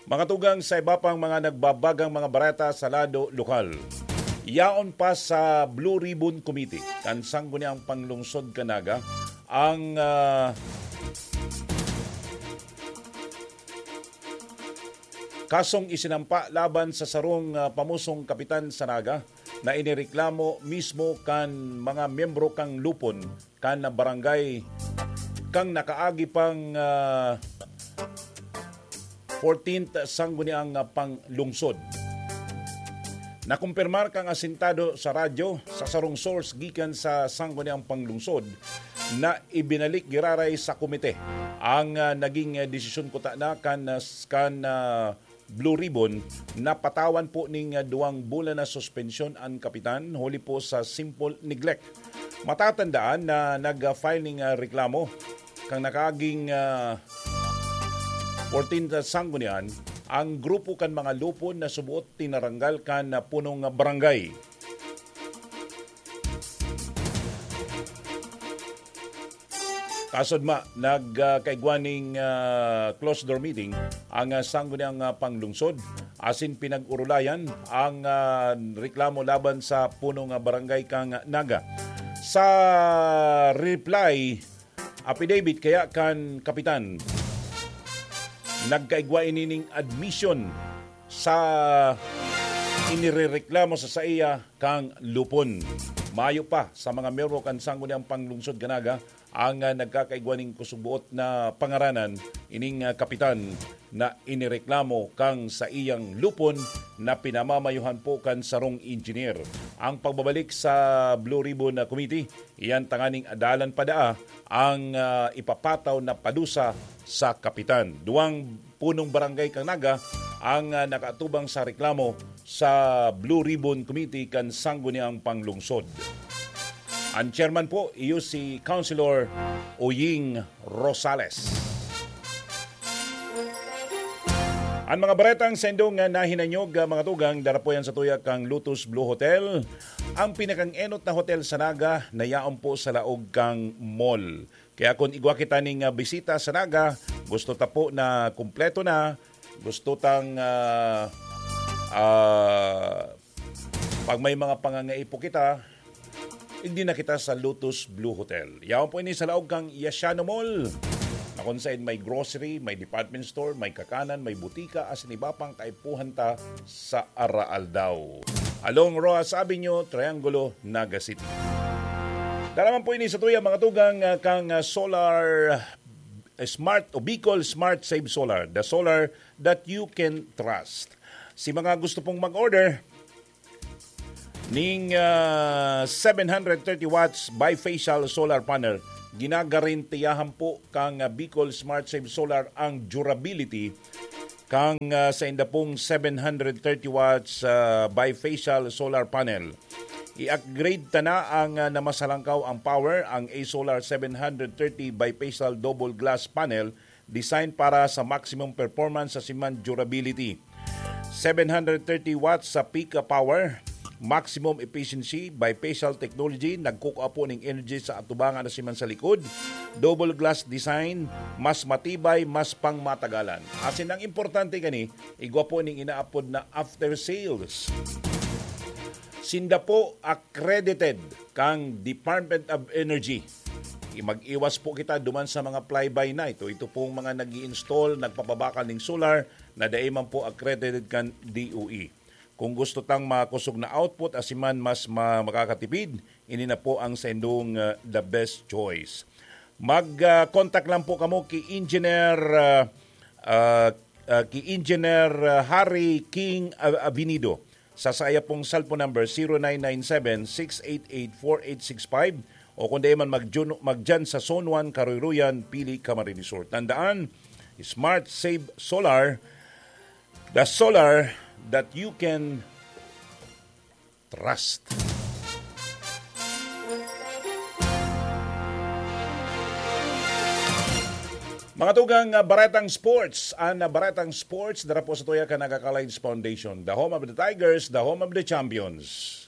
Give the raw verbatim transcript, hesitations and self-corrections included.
Mga tugang, sa iba pang mga nagbabagang mga bareta sa lado lokal. Yaon pa sa Blue Ribbon Committee, kan Sangguniang Panglungsod kan Naga, ang, ah, kasong isinampa laban sa sarong, ah, pamusong kapitan sa Naga na inireklamo mismo kan mga miyembro kan lupon kan barangay kan nakaagi pang, ah, fourteenth Sangguniang Panglungsod. Nakumpirmar kan asintado sa radyo sa sarong source gikan sa Sangguniang Panglungsod na ibinalik giraray sa komite ang, ah, naging, ah, desisyon kuta na kan, ah, s-, kan, ah, Blue Ribbon na patawan po ning, ah, duwang bulan na suspensyon an kapitan huli po sa simple neglect. Matatandaan na nag-file ning, ah, reklamo kan nakaaging, ah, fourteenth Sanggunian ang grupo kan mga lupon na subuot tinaranggal kan, ah, punong barangay. Kasod ma, nag, ah, kaigwa ning, ah, closed door meeting ang, ah, Sangguniang, ah, Panglungsod asin pinag-urulayan ang, ah, reklamo laban sa punong, ah, barangay kan Naga. Sa reply affidavit kaya kan kapitan, nagkaigwa ini ning admission sa inirereklamo sa saiya kan lupon. Mayo pa sa mga miyembro kan Sangguniang Panglungsod kan Naga ang, ah, nagkakaigwa ning kusubuot na pangaranan ining, ah, kapitan na inireklamo kan saiyang lupon na pinamamayuhan po kan sarong engineer. Ang pagbabalik sa Blue Ribbon na Committee, iyan tanganing adalan pa daa ang, ah, ipapataw na padusa sa kapitan. Duwang punong barangay kan Naga ang, ah, nakaatubang sa reklamo sa Blue Ribbon Committee kan Sangguniang Panglungsod. Ang chairman po, iyo si Councilor Oying Rosales. Ang mga baretang sendong nga nahinanyog, ah, mga tugang, dara po yan sa tuya kang Lotus Blue Hotel. Ang pinakang enot na hotel sa Naga na yaon po sa laog kang mall. Kaya kung igwa kita ning, ah, bisita sa Naga, gusto ta po na kumpleto na, gusto tang, ah, ah, pag may mga pangangaipo kita, igdi na kita sa Lotus Blue Hotel. Yaon po ini sa laog kang Yasiano Mall, na kung saan may grocery, may department store, may kakanan, may butika, asin iba pang kaipuhan ta sa araaldaw. Along Roxas Avenue, Triangulo, Naga City. Dara man po ini sa tuya, mga tugang, ah, kang, ah, Solar, eh, Smart o Bicol Smart Save Solar, the solar that you can trust. Si mga gusto pong mag-order ning, ah, seven hundred thirty watts bifacial solar panel, ginagarantiyahan po kang, ah, Bicol Smart Save Solar ang durability kang, ah, sa inda pong seven hundred thirty watts, ah, bifacial solar panel. I-upgrade ta na ang, ah, na mas halangkaw ang power, ang A Solar seven hundred thirty bifacial double glass panel, design para sa maximum performance sa siman durability. Seven hundred thirty watts sa peak power, maximum efficiency, bifacial technology, nagkukua po ning energy sa atubangan na siman sa likod, double glass design, mas matibay, mas pangmatagalan. Asin ang importante kani, igwa po ning inaapod na after sales. Sinda po accredited kang Department of Energy. I-, mag-iwas po kita duman sa mga fly-by night o ito pong mga nag-i-install, nagpapabakal ning solar na dai man po accredited kan D O E. Kung gusto tang makosog na output, asin man mas ma-, makakatipid, ini na po ang saindong, ah, the best choice. Mag, ah, contact lang po kamo ki Engineer, ah, ah, ah, ki Engineer, ah, Harry King Av-, Avenido. Sa saya pong cellphone number, zero nine nine seven, six eight eight, four eight six five, o kung di man, mag-, magdyan sa Zone one, Karuy-ruyan, Pili, Camarines Sur. Tandaan, Smart Save Solar, the solar that you can trust. Mga tugang, ah, Baretang Sports. An, ah, Baretang Sports, dara po sa tuya kan Naga College Foundation. The home of the Tigers, the home of the champions.